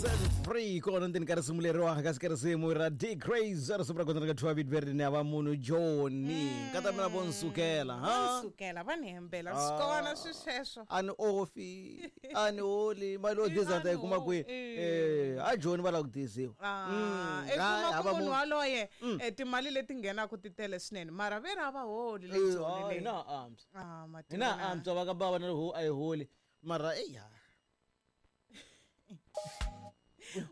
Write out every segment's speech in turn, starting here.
Set free kona ndzeni ka risimu leriwa kasi ka risimu ra D Craze risimu ra kona ri nga thyiwa vito leri ni va munhu Joni nkata mina vo nsukela Va ha ni sukela va ni hembela swi kona swi sweswo a ni ofi a ni holi mali yo diza ni ta yi kuma kwihi Eh. eh a Joni va lava ku diziwa Ah, Mm, i kuma hayi, ku hava munhu munhu. waloye timali leti nghenaka ti tele swinene mara ve ri a va holi le Eh, Joni ah, le. hina ha antswa Ah, hina mativona. ha antswa va ka bava na ri ho a yi holi mara eya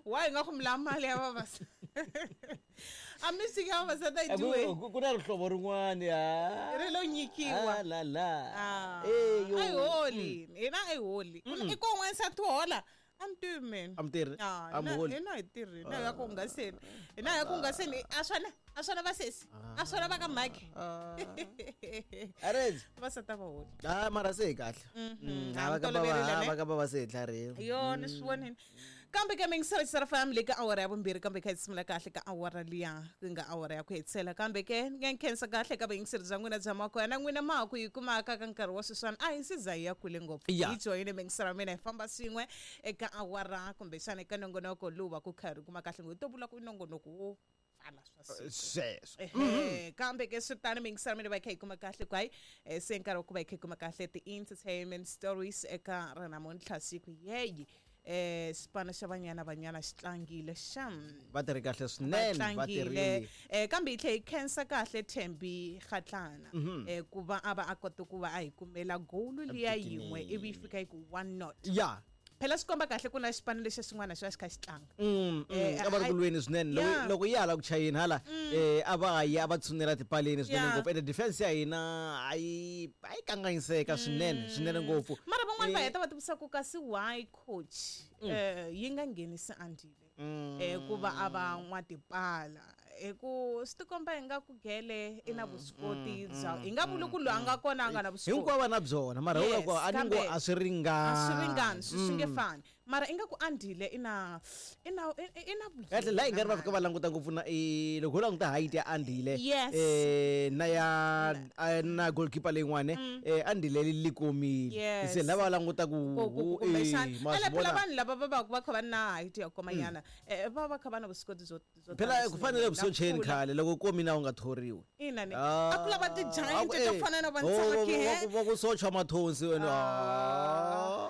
wa hi nga ku mi lava mali ya vavasati a music ya vavasati a yi dyiwe ku na rihlovo rin'wana ri lo nyikiwa Ah, la la Ah, Eh, yo. a yi holi hina a yi holi i ko n'wansati hola a mi tivi mina A mi tirhi? Ah, A mi holi? hina hi tirhi hina hi ya ku hungaseni hina hi ya ku hungaseni a swona a swona vasesi a swona va ka mhakhi Arezi. vavasati a va holi Ah, mara se hi kahle Mhm. Ah, A mi va ka toloverile, bava- ne? va ka bava se hi tlharihile yo ni swi vonile kambe ke mingisela fam le ka awara ya vumbirhi kambe kha hi sungula kahle ka awara liya ku nga awara ya ku hetisela kambe ke ni nga nkhensa kahle ka vayingiseri bya n'wina bya makoya na n'wina ma ha ku yi kumaka ka nkarhi wa sweswiwani a hi se za hi ya kule ngopfu Ya. hi joyine mingisela mina hi famba swin'we eka awara kumbexana eka nongonoko lowu va ku kha ri kuma kahle ngopfu hi to vula ku i nongonoko wo pfala swa siku. Sweswo. Ehe, kambe ke swi tano mingisela mina va hi kha hi kuma kahle ku hayi se nkarhi wa ku va hi kha hi kuma kahle ti-entertainment stories eka ra namuntlha siku yeyi xipano xa Banyana Banyana xi tlangile xam Va tirhi kahle va swinene va tlangile tirhile kambe hi tlhe hi khensa kahle Thembi Kgatlana ku va a va a kota ku va a hi kumela goal liya yin'we ivi yi fika yi ku 1-0 ya phela swi komba kahle ku na xipano lexi xin'wana xi va xi kha xi tlanga A va ri ku lweni swinene loko loko ya hala ku chayeni hala a va ya va tshunela tipaleni swinene ngopfu ende defense ya hina a yi a yi kanganyiseka swinene swinene ngopfu mara van'wani va heta va tivisa ku kasi why coach yi nga nghenisi Andile ku va a va n'watipala hi ku swi tikomba hi nga ku gele i na vuswikoti bya hi nga vuli ku loyi a nga kona a nga na vuswikoti Hinkwavo va na byona mara Yes, yes, a ni ngo kambe a swi ringani a swi ringani swi nge fani mara ingaku Andile i na i na i na Kahle la hi nga ri va fika va languta ngopfu na loko ho languta height ya Andile Yes. na ya na goalkeeper leyin'wana Andile li komile Yes. se lava va languta ku kumbexana ma ene swi phela vona. vanhu lava va va va kha va na height ya komanyana va va kha va na vuswikoti byo byo phela tala ku fanele swinene. vusocheni Na kula. khale loko komina u nga thoriwi Ina ni Ah, a ku lava ti-giant a to ku- fana na oh, vantsaki he va ku socha mathonsi wena Ah.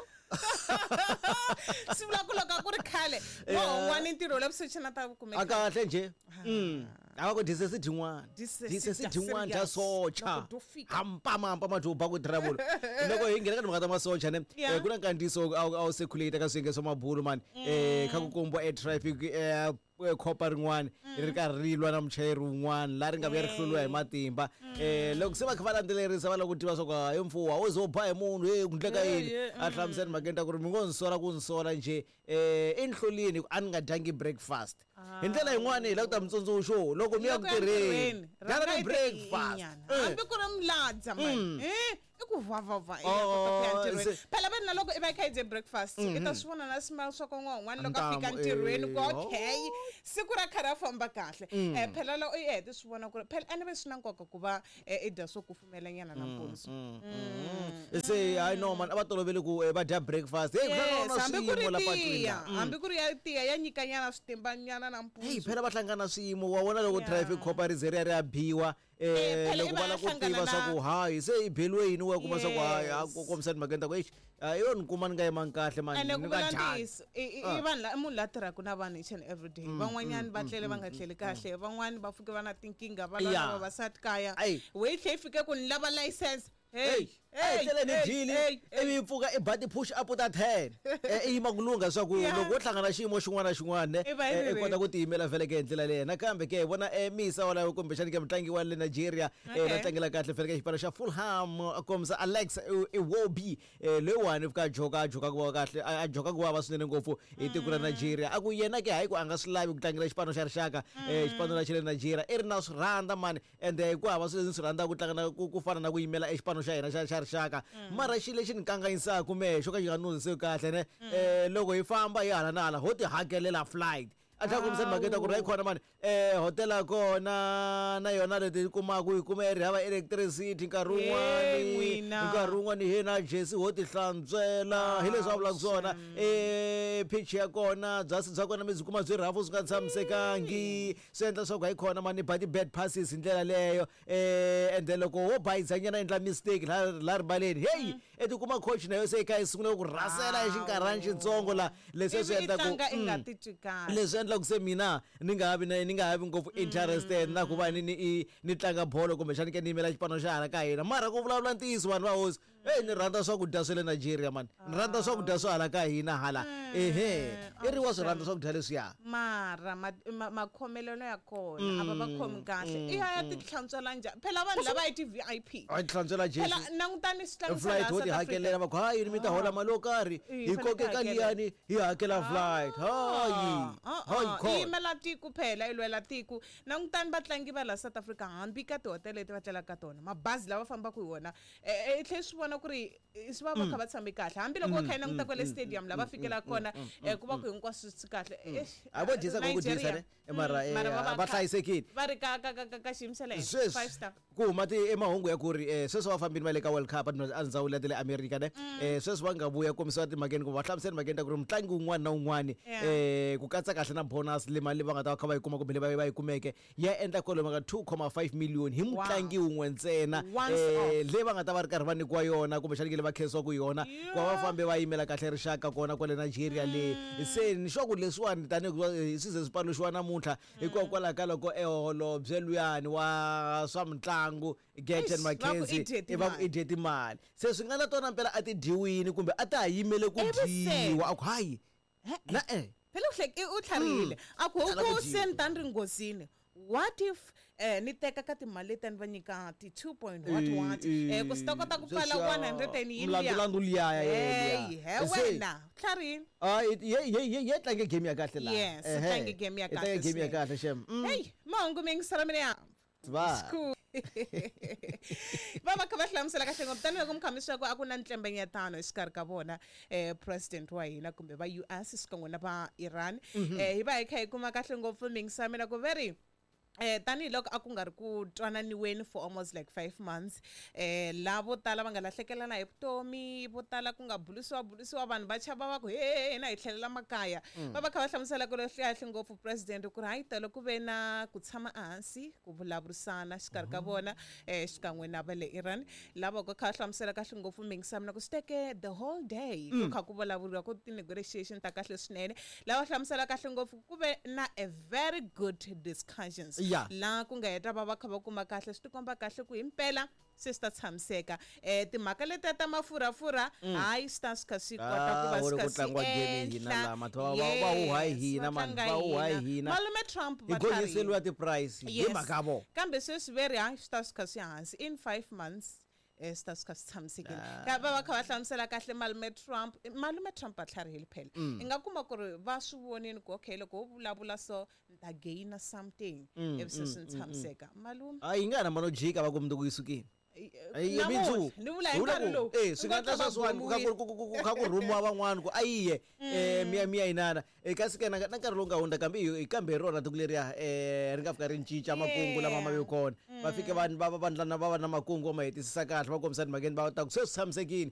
swi vula ku loko a ku ri khale wa hungwani ntirho la vusocheni a ta a kumeka kahle nje a va ku disesi dyin'wana Disesi disesi dya dyin'wana dya serious. socha Loko dyo fika. hampamampa madyoba ku travel loko hi nghena ka timhaka ta masocha ne Yeah. ku na nkandziyiso a wu circulate ka swiyenge swa mabulu mani kha ku kombiwa e traffic khopa rin'wana ri karhi ri lwa na muchayeri wun'wana laha ri nga vuya ri hluriwa hi matimba loko se va kha va landzelerisa va lava ku tiva swa ku hayi mfuwa wo ze u ba hi munhu e ku ndleka yini a hlamusela mhakeni ta ku ri mi ngo ni sola ku ni sola njhe i ni hlulini a ni nga dyangi breakfast hi ndlela yin'wani hi lava ku ta mitsundzuxo loko mi ya ku Loko ya tirheni ntirhweni, dyana rhanga ni i ti breakfast inyana. Hambi ku ri miladza mani i ku vavava i ya Oh, kota ku ya ntirhweni se- phela veni na loko i va i kha i dye breakfast i ta swi vona na smile swa kon'wan'wana loko a fika Ntamu, ntirhweni ku eh, okay siku ra kha ra famba kahle phela loko i hete swi vona ku ri phela ene ve swi na nkoka ku va i dya swo kufumelanyana nampundzu se hayi no man a va tolovele ku va dya breakfast hey, ku hlangana Yes, na hambi ku ri swiyimo la patwini tiya la. Mm. hambi ku ri ya tiya ya nyikanyana switimbanyana Hey, nampundzu phela va hlangana swiyimo wa vona loko Yeah. traffic cop ri ze ri ya ri ya biwa Eh, phela loko i va va lava ku hlangana tiva swa na- ku hayi se i beliwe yini wa kuma swa ku hayi a Yes. ku kombisa timhakeni ta ku exi yo ni kuma ni nga yimanga kahle mani ene ni ku nga vula dyangi ntiyiso i vanhu i munhu la tirhaka na vanhu each and every day van'wanyani va tlele va nga tleli kahle van'wani va pfuke va na tinkingha va lwa na Yeah. vavasati kaya Ayi. we yi tlhe yi fike ku ni lava license Hey, hey, hey, tlele ni hey, dyile hey, hey. ivi yi pfuka i ba ti-push up ta 10 i yima ku lungha swa ku Yeah. loko wo hlangana xiyimo xin'wana na xin'wana I va yi ri i kota ku tiyimela vhele ke hi ndlela leyi nakambe ke hi vona misa walayo kumbexani ke mutlangi wa le Nigeria Okay. la tlangela kahle vhele ka xipano xa Fulham a kombisa Alex Iwobi loyiwani u fika a joka a joka ku va kahle a joka ku vava swinene ngopfu hi tiko ra Nigeria a ku yena ke hayi ku a nga swi lavi ku tlangela xipano xa rixaka xipano la xa le Nigeria i ri na swi rhandza mani ende ku hava swilo leswi ni swi rhandzaka ku tlanga na ku fana na ku yimela exipano xa hina xa rixaka mara xilo lexi ni kanganyisaka mehe xo ka xi nga ni hundziseki kahle ne loko hi famba hi hala na hala ho ti hakelela flight A tlhela kombisa timhaka ta ku ri hayi khona mani hotela ya kona na yona leti yi kumaka yi kuma yi ri hava electricity nkarhi wun'wani. N'wina. Nkarhi wun'wani he na jesi ho ti hlantswela, hi leswi a vulaka swona. Pitch ya kona, byasi bya kona mi byi kuma byi rhafu, swi nga tshamisekangi, swi endla leswaku hayi khona mani ba ti-bad passes hi ndlela leyo. And then loko wo bayizanyana, endla mistake la ribaleni, heyi, i tikuma coach na yo se yi kha yi sungula ku rhasela hi xinkarhani xitsongo la leswi swi Ivi i endlaku tlanga i nga titwi kahle. Leswi endlaku se mina ni nga ha vi ngopfu interested na ku va ni tlanga bolo, kumbexani ke ni yimela xipano xa hala ka hina. Mara ku vulavula ntiyiso, vanhu va hosi, eyi, ni rhandza swakudya swa le Nigeria mani, ni rhandza swakudya swa hala ka hina hala. Ehe, i ri wa swi rhandza swakudya leswiya. Mara makhomelelo ya kona a va va khomi kahle. I ya ya ti hlantswela njhani phela vanhu lava i ti-VIP? A ti hlantswela Phela jesi. Langutani switlangisa Flight laha ho ti South Africa. Hakelela, va ku hayi, mi ta hola mali yo karhi, Hi hi fanele koke hi ka hakela. liyani hi hakela flight, hayi. Ah, Hayi. ah, Khona yi yimela tiko phela, yi lwela tiko. Langutani vatlangi va la South Africa, hambi ka tihotele leti va tlelaka ka tona, mabazi lava fambaka hi wona, i tlhe swi vona ku ri swi va va kha va tshame kahle, hambiloko va kha yi languta kwale stadium lava fikelaka kona, ku va ku hinkwaswo swi kahle. Eish, A vo dyisa ku dyisa Nigeria. ne. Mara Mara va va hlayisekile. Va ri ka xiyimo xa le henhla, Sweswi five star. Ku huma ti emahungu ya ku ri sweswi va fambini va le ka World Cup a ndzawulo ya ta le America ne. Sweswi va nga vuya kombisiwa timhakeni kumbe va hlamusela timhakeni ta ku ri mutlangi wun'wana na wun'wana, ku katsa kahle na bonus le mali leyi va nga ta va kha va yi kuma kumbe leyi va yi kumeke, ya endla kwalomu ka 2.5 million hi mutlangi wun'we ntsena. Once Leyi va nga ta va ri karhi va nyikiwa yona, kumbexani ke le va khensiwaku yona ku va va fambe va yimela kahle rixaka kona kwale Nigeria le. Se ni sure ku leswiwani tanihi ku swi ze swi paluxiwa namuntlha hikokwalaho ka loko eholobye luyani wa swa mitlangu Gayton Eish, va ku McKenzie i dye i va ku timali. i dye timali, se swi nga na tona mpela a ti dyiwini kumbe a ta ha yimele ku Ivi se- dyiwa, a ku hayi na e. Phela u tlharihile, a ku Tala ku huku dyiwa. se ni ta ni ri nghozini, what if ni teka ka timali leti ni va nyika ti 2 point what what ku swi ta kota ku pfala 100 and yini liya. Mlandulandu liya. Hey, he wena tlharihile. Ye tlange game ya kahle la. Yes, i tlange game ya I tlange kahle game ya swinene. kahle shem. Hey, mahungu mi yingisela mina ya Va. School. Va kha va hlamusela kahle ngopfu, tanihiloko mi kha mi swi ku a ku na ntlembenyetano exikarhi ka vona president wa hina kumbe va US xikan'we na va Iran. Hi va hi kha hi kuma kahle ngopfu mingisa mina ku veri tanihiloko a ku nga ri ku twananiweni for almost like 5 months, la vo tala va nga lahlekelana hi vutomi, vo tala ku nga bulisiwa bulisiwa, vanhu va chava, va ku he hina hi tlhelela makaya. Va kha va hlamusela ku ri kahle ngopfu president ku ri hayi, tolo ku ve na ku tshama ehansi ku vulavurisana xikarhi ka vona xikan'we na va le Iran, lava ku kha va hlamusela kahle ngopfu mingisa mina ku swi teke the whole day ku kha ku vulavuriwa ku ti-negotiation ta kahle swinene, lava hlamusela kahle ngopfu ku ve na a very good discussions. La ku nga heta va va kha va kuma kahle, swi tikomba kahle ku himpela se swi ta tshamiseka. Timhaka letiya ta mafurhafurha, hayi, swi ta swi kha swi kota ku va Ah, swi wu ri kha ku swi tlangiwa game hina enhla. la, mathu va huha hi Yes, hina va man, tlanga va huha hi hina. Malume Trump Hi va tlharihile. gonyiseliwa ti-price hi mhaka vo. Kambe sweswi ve ri hayi, swi ta swi kha swi hansi in 5 months, swi ta swi kha swi tshamisekile. Ka va kha va hlamusela kahle malume Trump, malume Trump va tlharihile phela. I nga kuma ku ri va swi vonini ku okay, loko wo vulavula so ni ta gaina something, ivi se swi ni tshamiseka malume. A yi nga na mano jika va ku mundzuku yi sukile. Ai, Namuntlha, mundzuku. ni vula hi Vula nkarhi ku, lowu. swi nga Nga endla kha va sweswiwani ku kha ku kha ku rhumiwa van'wani ku a yiye miya yinana. Kasi ke na nkarhi lowu nga hundza kambe kambe hi rona tiko leriya ri nga fika ri cinca makungu lama ma ve kona, va fike va va va va va na makungu va ma hetisisa kahle, va kombisa timhakeni va ta ku se swi tshamisekile.